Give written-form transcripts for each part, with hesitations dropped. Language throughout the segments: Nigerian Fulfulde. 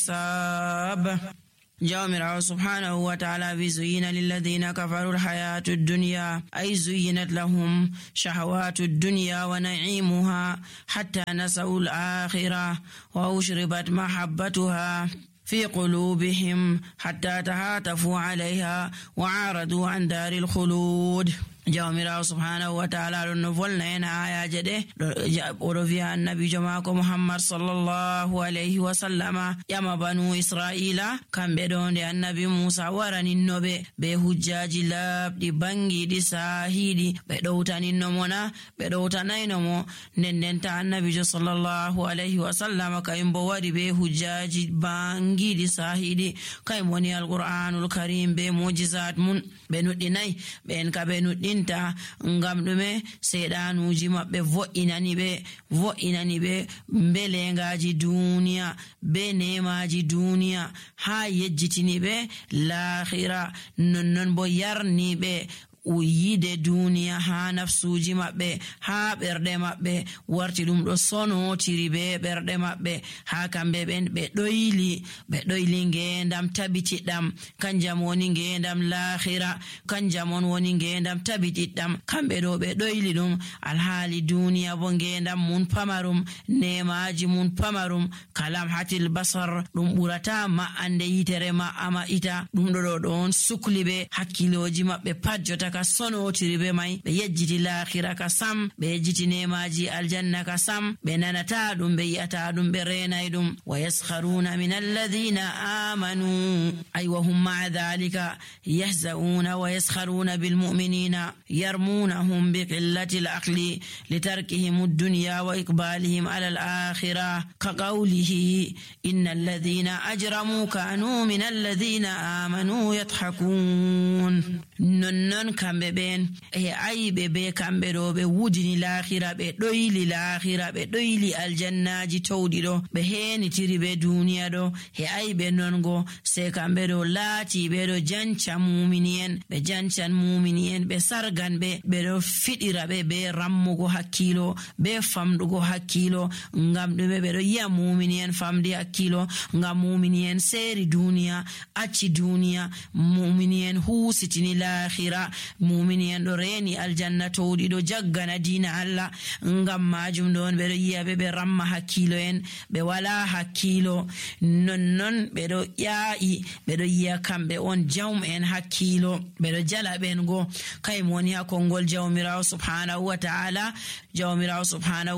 حساب. جاء سبحانه وتعالى بزين للذين كفروا الحياة الدنيا، أي زينت لهم شهوات الدنيا ونعيمها حتى نسوا الآخرة وأشربت محبتها في قلوبهم حتى تهاتفوا عليها وعارضوا عن دار الخلود. jawmirawo subhanahu wa ta'ala ɗon no volna en ayaje ɗe oɗo wiya annabijo mako muhammad sallallahu alayhi wa sallama ƴama banu israila kamɓe ɗo nde annabi musa waraninnoɓe be hujjaji labɗi bangiɗi sahiɗi ɓe ɗowtaninno mona ɓe ɗowtanayno mo ndendenta annabijo sallallahu alayhi wa sallama kayum bo waɗi be hujjaji bangiɗi sahiɗi kayum woni alqur'anul karim be mujizat mun ɓe nuɗɗinayi ɓen ka ɓe nuɗɗinta ngam ɗume seeɗanuji maɓɓe vo'inani ɓe belengaji duniya be nemaji duniya ha yejjitini ɓe lahira nonnon bo yarni ɓe yide duniya ha nafsuji maɓɓe ha ɓerɗe maɓɓe warti ɗum ɗo sonotiri be ɓerɗe maɓɓe ha kamɓe ɓen ɓe ɗoyli ngendam tabitiɗɗam kanjam woni ngendam lahira kanjam on woni ngendam tabitiɗɗam kamɓe ɗo ɓe ɗoyli ɗum alhaali duniya bo ngendam mun pamarum nemaji mun pamarum kalam hatil basar ɗum ɓurata ma'ande yitere ma'ama ita ɗum ɗo ɗon sukli ɓe hakkiloji maɓɓe pat jota ka sonotiri be mai ɓe yejjiti lahira ka sam ɓe yejjiti nemaji aljanna ka sam ɓe nanata ɗum ɓe yi'ata ɗum ɓe renay ɗum wa yaskharuna min alladhina amanu ay wa hum ma'a dhalika yahza'una wa yaskharuna bil mu'minina yarmunahum bi qillati al aqli litarkihim ad-dunya wa iqbalihim ala al akhirah ka qawlihi innal ladhina ajramu kanu min alladhina amanu yadhhakun. nonnon kamɓe ɓen e ayiɓe be kamɓe ɗo ɓe wudini lahira ɓe ɗoyli lahira ɓe ɗoyli aljannaji towɗi ɗo ɓe henitiri be duniya ɗo e ayiɓe nongo se kamɓe ɗo laati ɓe ɗo janca mumini'en ɓe jancan mumini'en ɓe sargan ɓe ɗo fiɗira ɓe be rammugo hakkilo be famɗugo hakkilo ngam ɗume ɓe ɗo yi'a mumini'en famdi hakkilo ngam mumini'en seeri duniya acci duniya mumini'en husitini lahira mumini en ɗo reni aljanna towɗi ɗo jaggana dina Allah ngam majum ɗon ɓeɗo yiya ɓe ramma hakkilo en ɓe wala hakkilo nonnon ɓeɗo ƴaa'i ɓeɗo yiya kamɓe on jawm en hakkilo ɓeɗo jala ɓen go kaymo woni ha konngol jawmirawo subhanahu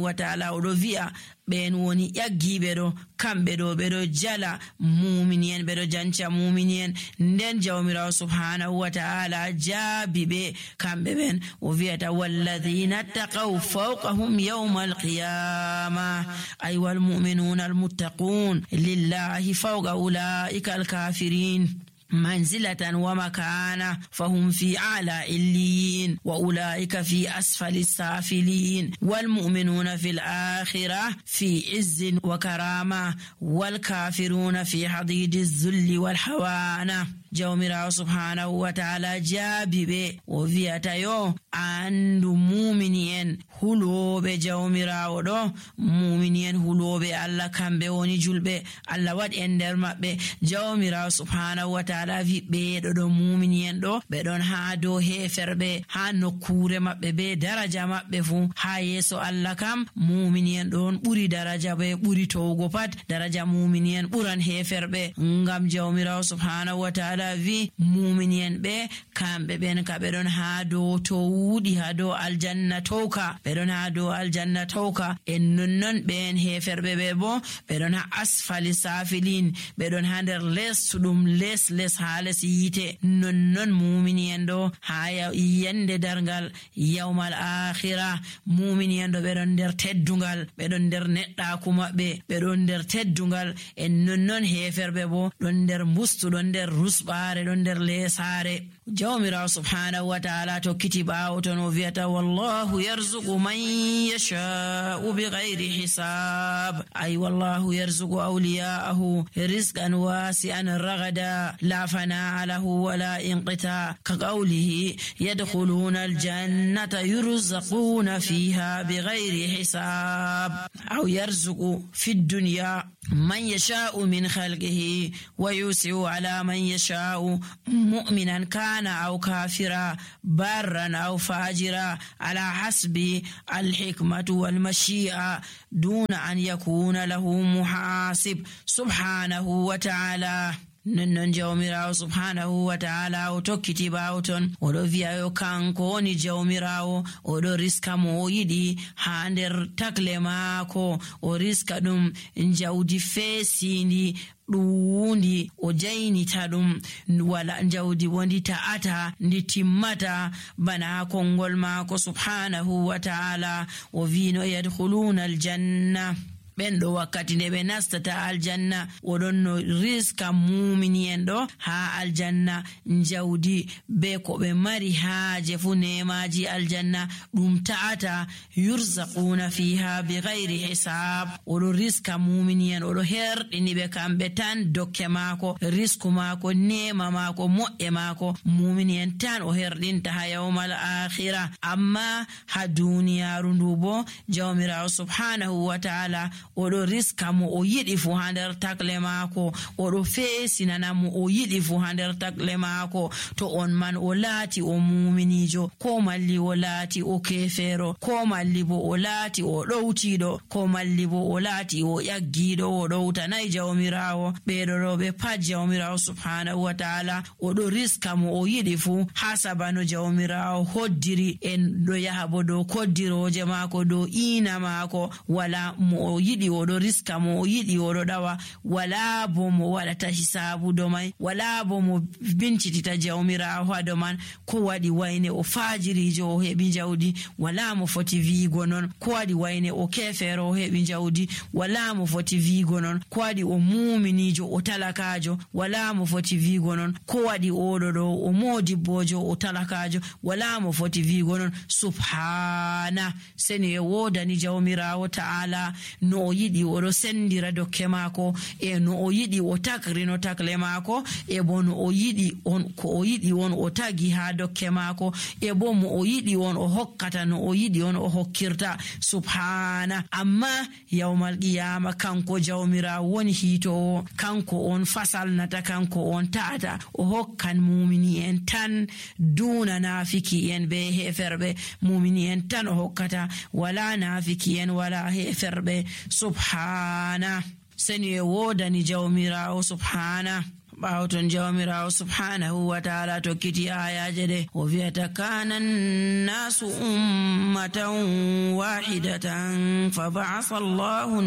wa ta'ala oɗo wi'a ɓen woni ƴaggiɓe ɗo kamɓe ɗo ɓeɗo jala mumini en ɓeɗo janca mumini en nden jawmirawo subhanahu wa ta'ala jaabi ɓe kamɓe ɓen o wi'ata walladhina taqaw fawqahum yawma alqiyama ay wal mu'minuna almuttaqun lillahi fawqa ulaika alkafirin منزلة ومكانة فهم في أعلى عليين وأولئك في أسفل السافلين والمؤمنون في الآخرة في عز وكرامة والكافرون في حضيض الذل والحوانة. jawmirawo subhanahu wa ta'ala jaabi ɓe o wi'ata yo andu mumini en huloɓe jawmirawo ɗo mumini en huloɓe Allah kamɓe woni julɓe Allah waɗi en nder maɓɓe jawmirawo subhanahu wa ta'ala wi ɓeɗo ɗo mumini en ɗo ɓe ɗon ha dow heferɓe ha nokkure maɓɓe be daraja maɓɓe fu ha yeso Allah kam mumini en ɗon ɓuri daraja ɓe ɓuri towgo pat daraja mumini en ɓuran heferɓe ngam jawmirawo subhanahu wa ta'ala vi mumini en ɓe kamɓe ɓen ka ɓe ɗon ha dow to wuɗi ha dow aljanna towka ɓe ɗon ha dow aljanna towka en nonnon ɓen heferɓe ɓe bo ɓe ɗon ha asfali safilin ɓe ɗon ha nder lessuɗum les ha les yite nonnon mumini en ɗo ha yande dargal yawmal akhira mumini en ɗo ɓe ɗon nder teddungal ɓe ɗon nder neɗɗaku maɓɓe ɓe ɗon nder teddungal en nonnon heferɓe bo ɗon nder mbustu ɗon nder rusɓa sukaare ɗon nder lesare. Jawmirawo subhanahu wa ta'ala tokkiti ɓawo ton o wi'ata wallahu yarzuqu man yasha'u bighayri hisab, ay wallahu yarzuqu awliya'ahu rizqan wasi'an ragada la fana'a lahu wala inqita ka qawlihi yadkhuluna aljannata yurzaquna fiha bighayri hisab. aw yarzuqu fi dunya man yasha'u min khalqihi wa yusi'u ala man yasha'u mu'minan kana aw kafira barran aw fajira ala hasbi alhikmatu wal mashi'a duna an yakuna lahu muhasib subhanahu wa ta'ala. Non jawmirawo subhanahu wa ta'ala o tokkiti ɓawo ton oɗo wi'ayo kanko woni jawmirawo, oɗo riska mo o yiɗi ha nder takle maako, o riska ɗum jawdi feesindi ɗuwundi o jaynita ɗum, wala jawdi wondi ta'ata ndi timmata bana kongol maako subhanahu wa ta'ala. O wino yadkhuluna aljanna, ɓen ɗo wakkati nde ɓe nastata aljanna oɗon no riska mumini en ɗo ha aljanna jawdi be ko ɓe mari haaje fu nemaji aljanna ɗum ta'ata yurzaquna fiha bighayri hisab. oɗo riska mumini en, oɗo herɗini ɓe kamɓe tan dokke maako, risku maako, nema maako, moƴƴe maako mumini en tan o herɗinta ha yawmal akhira. amma ha duniyaru ndu bo jawmirawo subhanahu wa ta'ala oɗo riska mo o yiɗi fu ha nder takle maako, oɗo feesinana mo o yiɗi fu ha nder takle maako. to on man o laati o muminijo, ko malli o laati o kefeero, ko malli bo o laati o ɗowtiɗo, ko malli bo o laati o ƴaggiɗo o ɗowtanayi jawmirawo, ɓeɗo ɗo ɓe pat jawmirawo subhanahu wa ta'ala oɗo riska mo o yiɗi fu ha sabano jawmirawo hoddiri en ɗo yaha bo dow koddiroje maako, dow ina maako, wala mo o yiɗi oɗo riska mo o yiɗi oɗo ɗawa, wala bo mo waɗata hisabu do mai, wala bo mo bincitita jawmirawo ha do man ko waɗi wayne o fajirijo o heɓi jawdi, wala mo foti wiigo non. ko waɗi wayne o kefero o heɓi jawdi, wala mo foti wiigo non. ko waɗi o muminijo o talakajo, wala mo foti wiigo non. ko waɗi oɗo ɗo o modibbojo o talakajo, wala mo foti wiigo non. subhana, seni e wodani jawmirawo ta'ala no o yiɗi oɗo sendira dokke maako, e no o yiɗi o takrino takle maako, e bo no o yiɗi on ko o yiɗi on o tagi ha dokke maako, e bo mo o yiɗi on o hokkata no o yiɗi on o hokkirta subhana. amma yawmal qiyama kanko jawmirawo woni hiitowo, kanko on fasalnata, kanko on ta'ata, o hokkan mumini en tan duna nafiki en be heferɓe, mumini en tan o hokkata, wala nafiki en wala heferɓe subhana. seni e wodani jawmirawo subhana. ɓawo ton jawmirawo subhanahu wa ta'ala tokkiti ayaje ɗe o wi'ata kana nnasu ummatan wahidatan fa ba'atha Allahu